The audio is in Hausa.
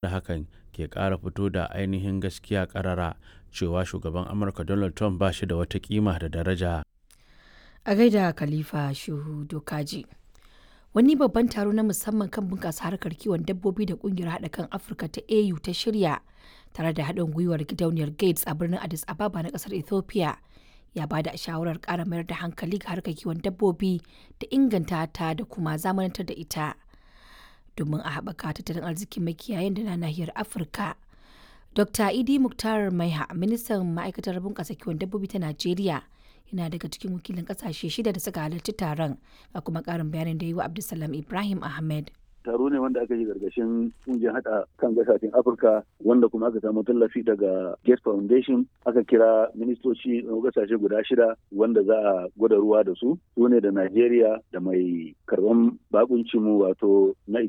Da hakan ke ƙara fito da ainihin gaskiya ƙarara cewa Shugaban Amurka Donald Trump ba shi da wata kima da daraja. A gaida Khalifa Shehu Dokaji. Wani babban taro na musamman kan bunƙasa harkar kiwon dabbobi da ƙungiyar haɗa kan Afirka ta AU ta shirya tare da haɗin gwiwar gidauniyar Gates a birnin Addis Ababa na ƙasar Ethiopia ya ba da shawarar ƙara mayar da hankali ga harkar kiwon dabbobi da inganta ta da kuma zamanantar da ita domin a haɓaka tattalin arzikin makiyayan da na nahiyar Afirka. Dr. Idi Muktar Maiha, ministan ma'aikatar bunƙasa kiwon dabbobi ta Najeriya, yana daga cikin wakilin ƙasashe shida da suka halarci taron, ga kuma ƙarin bayanin da yi wa Abdulsalam Ibrahim Ahmed. Taro ne wanda aka yi gargashin kungiyar hada kan gasashen Afirka, wanda kuma aka samu tallafi daga Gates Foundation. Aka kira ministoci na gasashe guda shida wanda za a gwada ruwa da su, su ne da Najeriya da mai karban bakuncin mu, wato na